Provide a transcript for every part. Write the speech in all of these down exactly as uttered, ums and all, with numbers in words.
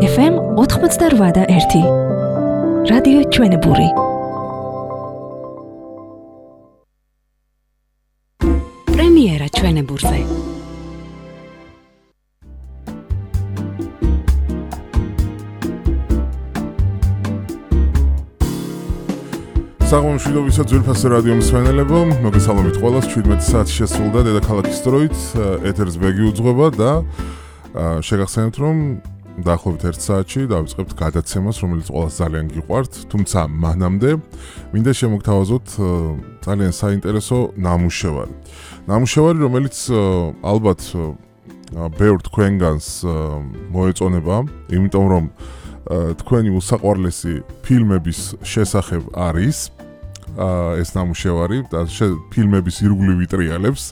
ეფ ემ ოცდაოთხ და ერთი. რადიო ჩვენებური. პრემიერა ჩვენებურზე. საღამომშვიდობისა ძვირფასი რადიო მსმენელებო, მოგესალმებით ყველას. შვიდმეტი საათი შესრულდა დედაქალაქის დროით, ეთერს ბეგი უძღვება და შეგახსენებთ, რომ დაახლოებით ერთ საათში დავიწყებთ გადაცემას, რომელიც ყველას ძალიან გიყვართ, თუმცა მანამდე მინდა შემოგთავაზოთ ძალიან საინტერესო ნამუშევარი. ნამუშევარი, რომელიც ალბათ ბევრ თქვენგანს მოეწონება, იმიტომ რომ თქვენი უსაყვარლესი ფილმების შესახებ არის ეს ნამუშევარი და ფილმების ირგვლივ ვიტრიალებს,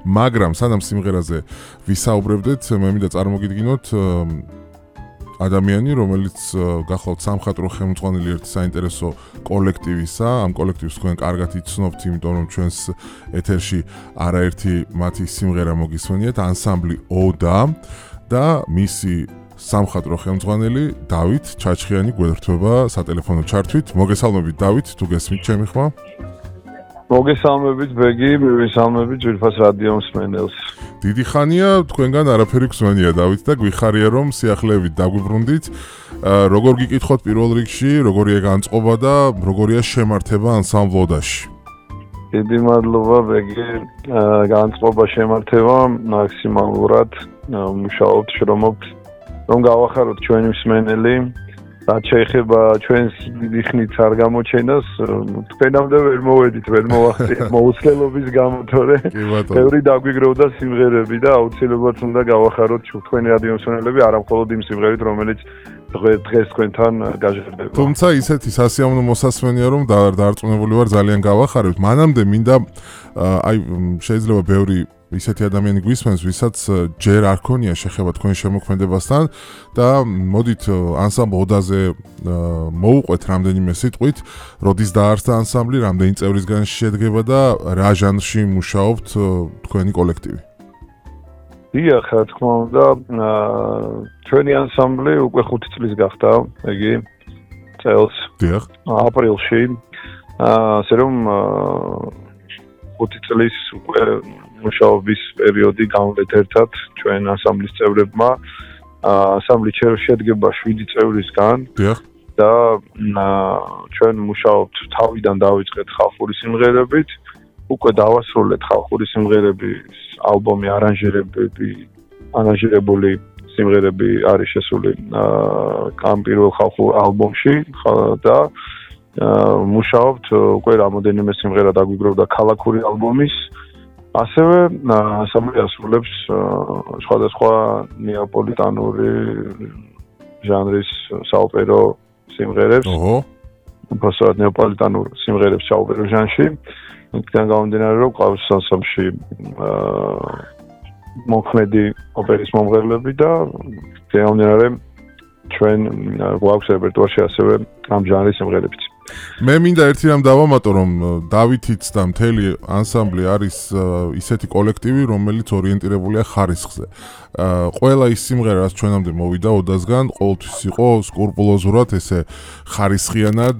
მაგრამ სანამ სიმღერაზე ვისაუბრებდეთ, მე მინდა წარმოგიდგინოთ ადამიანი, რომელიც გახლავთ სამხატვრო ხელმძღვანელი ერთი საინტერესო კოლექტივისა. ამ კოლექტივს თქვენ კარგად იცნობთ, იმიტომ რომ ჩვენს ეთერში არაერთი მათი სიმღერა მოგისმენიათ, ანსამბლი ოდა და მისი სამხატვრო ხელმძღვანელი დავით ჩაჩხიანი გვერდება სატელეფონო ჩართვით. მოგესალმებით დავით, თუ გესმით ჩემი ხმა? მოგესალმებით ბეგი, მივესალმებით ძვირფას რადიო მსმენელს. დიდი ხანია თქვენგან არაფერი გვსმენია დავით და გვიხარია რომ სიახლეებით დაგვიბრუნდით. როგორ გიკითხოთ პირველ რიგში, როგორია განწყობა და როგორია შემართება ანსამბლ ოდაში? დიდი მადლობა ბეგი, განწყობა შემართება მაქსიმალურად მუშაობთ, შრომობთ რომ გავახაროთ ჩვენი მსმენელი, რაც შეეხება ჩვენს დიდი ხნით არ გამოჩენას, თქვენამდე ვერ მოვედით, ვერ მოვახციეთ მოუცლელობის გამო, თორე ბევრი დაგვიგროვდა სიმღერები და აუცილებლად უნდა გავახაროთ თქვენი რადიო მსმენელები, არა მხოლოდ იმ სიმღერით, რომელიც დღეს თქვენთან გაჟღერდება. თუმცა ისეთი სასიამოვნო მოსასმენია, რომ დარწმუნებული ვარ ძალიან გავახარებთ. მანამდე მინდა აი შეიძლება ბევრი ისეთი ადამიანი გვისმენს, ვისაც ჯერ არ ქონია შეხება თქვენ შემოქმედებასთან და მოდით ანსამბლ ოდაზე მოუყვეთ რამდენიმე სიტყვით, როდის დაარსდა ანსამბლი, რამდენი წევრისგან შედგება და რა ჟანრში მუშაობთ თქვენი კოლექტივი? დიახ, რა თქმა უნდა, ჩვენი ანსამბლი უკვე ხუთი წლის გახდა, იგი წელს. დიახ. აპრილში. ასე რომ ხუთი წლის უკვე მუშაობის პერიოდი გამოვეთ ერთად ჩვენ ანსამბლის წევრებმა. ანსამბლი შედგება შვიდი წევრისგან. დიახ. და ჩვენ მუშაობთ თავიდან დავიწყეთ ხალხური სიმღერებით, უკვე დავასრულეთ ხალხური სიმღერების ალბომი, არანჟირებები, არანჟირებული სიმღერები არის შესული ამ პირველ ხალხურ ალბომში და მუშაობთ უკვე რამოდენიმე სიმღერა დაგვიგროვდა ქალაქური ალბომის. ასევე ანსამბლი ასრულებს სხვადასხვა ნეაპოლიტანური ჟანრის საოპერო სიმღერებს. ოჰო. უბრალოდ ნეაპოლიტანურ სიმღერებს საოპერო ჟანრში. იქიდან გამომდინარე, რომ ყავს ანსამბლში მოქმედი ოპერის მომღერლები და გამომდინარე ჩვენ გვაქვს რეპერტუარში ასევე ამ ჟანრის სიმღერებიც. მე მინდა ერთი რამ დავამატო, რომ დავითიც და მთელი ანსამბლი არის ისეთი კოლექტივი, რომელიც ორიენტირებულია ხარისხზე. ყველა ის სიმღერა, რაც ჩვენამდე მოვიდა ოდასგან, ყოველთვის იყო სკრუპულოზურად ესე ხარისხიანად